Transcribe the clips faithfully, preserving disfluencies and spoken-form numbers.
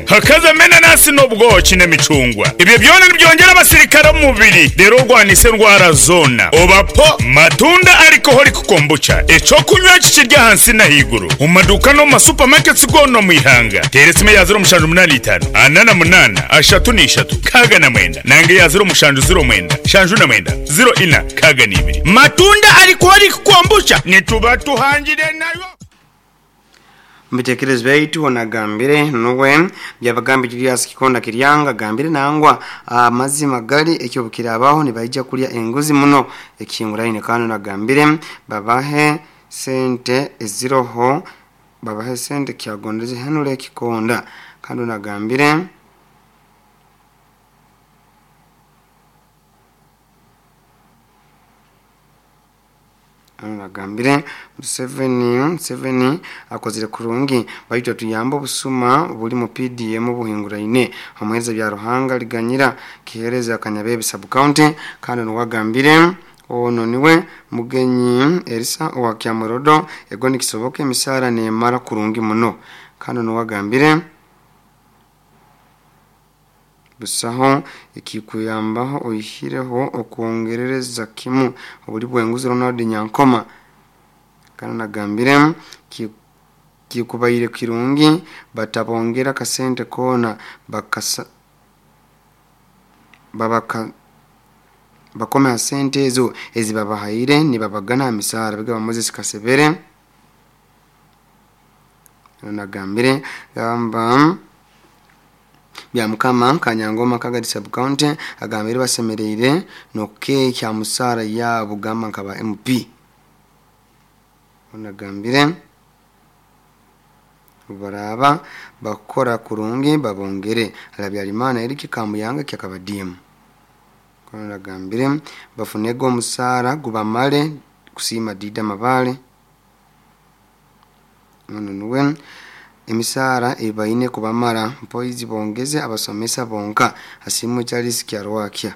Hakaza menanasi n'obwoki n'emicungwa, ibyo byona nibyongera abasirikare mu mubiri, rero urwanise indwara zona. Obapo matunda alcoholic kombucha, icyo kunywa kikirya hansi na higuru mu maduka no mu masupamaketi gono mu ihanga. Tera esimu ya zero mushanju munani itanu anana munana ashatu n'ishatu kaga na mwenda, nange ya zero mushanju zero mwenda shanju na mwenda zero ina kaga n'ibiri. Matunda alcoholic kombucha nituba tuhangire nayo. Mubitekerezo byaitu onagambire nuwe byabagambi Julius Kikonda Kiryanga gambire nangwa amazima gali ekyo bukirabaho nibaija kulya enguzi muno ekinguraine. Kandi nagambire babahe sente eziroho, babahe sente kyagondeze henule Kikonda. Kandi nagambire nagambire Museveni Museveni akozire kurungi baitu tuyamba obusuma buli mu P D M buhinguraine omuhereza bya Ruhanga liganyira kihereza Kanyabebe sub county. Kandi nuwagambire ono niwe mugenyi Elisa owa Kyamorodo ego nikisoboka emisara nemara kurungi muno. Kandi nuwagambire busaho ikikuyambaho oyihireho okwongerereza kimu obuli bwenguzi Ronald Nyankoma. Kandi nagambire kikubaire kirungi batabongera kasente kona bakasa babaka bakome sente ezo ezibabahaire nibabagana misara bigaba Moses Kasebere. Nagambire gamba bya mukama Kanyangoma Kagadi sub county agambire basemereire noke kya musara ya bugamba nkaba M P. Onagambire baraba bakora kurungi babongere alabyalimana eriki kamuyanga kyakabadimu. Onagambire bafunego musara gubamale kusima dida mabale. Ono emisara ebaine kubamara mpoizi bongeze abasomesa bonka asimu Charles Kyarwakia.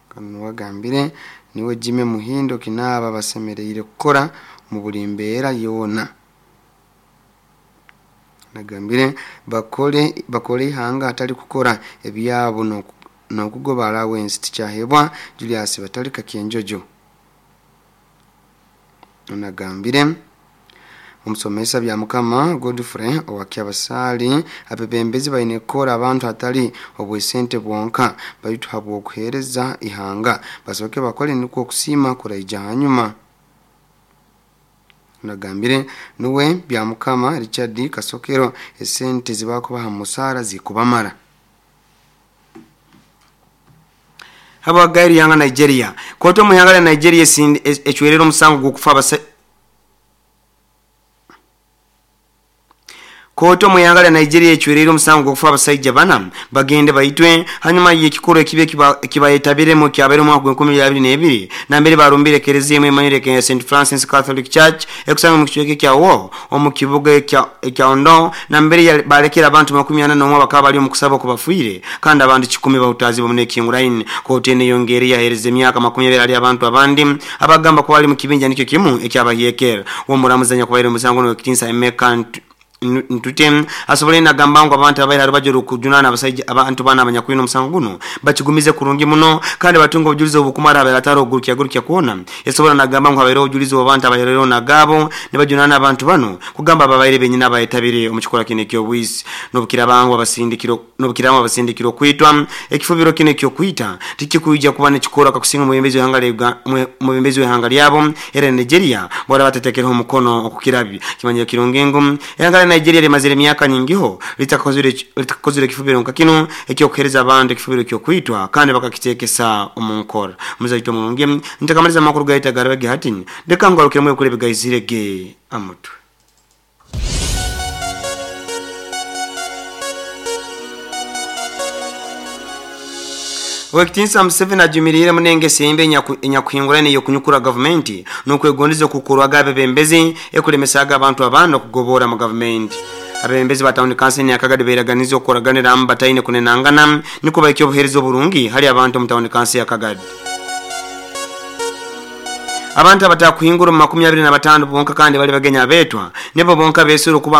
Kanu wagambire niwe Jime Muhindo kinaba basemereire kukora mu buli mbeera yona. Nagambire bakole bakole ihanga atali kukora ebyabo no nokugoba allowance tikyahebwa Julius Batalika Kyenjojo. Nagambire omusomesa bya mukama Godfrey owakyabasali abebembezi baine kora abantu atali obwesente bwonka baitu habwo okuhereza ihanga basoke bakole niko okusima kuraija hanyuma. Nagambire nuwe bya mukama Richard Kasokero esente zibakubaha musara zikubamara. Haba gairi yanga Nigeria koto muhanga Nigeria echwerero omusango gukufa abasa Koto muyangala Nigeria echwerero omusango gukufa abasajja bana bagende baitwe hanyuma y'ekikoro ekibe kibayetabiremo kyabere mu mwaka w'enkumi abiri n'ebiri nambere barumbire kereziya emanyire ya Saint Francis Catholic Church ekusanga mu kichweke kya wo omu kibuga ekya ekya Ondo nambere balekera abantu makumi ana n'omwe bakaba bali mu kusaba kubafuire kandi abantu kikumi bahutazi bomune kinguraine. Koto ene yongere yahereza emyaka makumi abiri ali abantu abandi abagamba ko bali mu kibinja nikyo kimu ekyabahiyekera wo muramuzanya kubaire omusango n'ekitinsa Emeka Ntute asobole nagamba ngo abantu abaira arubajuru kujunana abasajja abantu bana abanyakwino musango guno bakigumize kurungi muno kandi batunga obujulizi obukumara abarataro ogurukya gurukya kuona esobola nagamba ngo abaira obujulizi abantu abairero nagabo ne bajunana abantu bano kugamba ababaire benyina abayetabire omukikola kine kyo bwisi nobukira bangu abasindikiro nobukira abasindikiro kwitwa ekifubiro kine kyo kwita tikikuija kuba nekikora kakusinga mubembezi w'ihanga lya mubembezi w'ihanga lyabo era Nigeria bora batetekereho omukono okukirabi kimanyiro kirungengo ihanga Nigeria limazire emyaka nyingiho litakozire litakozire kifubiro nka kino ekyokuhereza abantu ekifubiro kyo kwitwa kandi bakakitekesa omunkora muzaito mulungi ntakamaliza makuru gaita garabege hatini ndeka ngarukire kule bigayizirege amutwe. Wekitinsa Museveni ajumirire munenge sembe enyakuhingurane yokunyukura government nokwegondeza kukurwa gabe bembezi ekulemesaga abantu abana kugobora mu government. Abembezi ba town council ya Kagadi beraganizo okoraganira ambataine kunenangana niko baikyo obuhereza oburungi hali abantu mu town council ya Kagadi. Abantu abatakuhingura mu makumi abiri na batano bonka kandi bali bagenya abetwa nebo bonka besuru kuba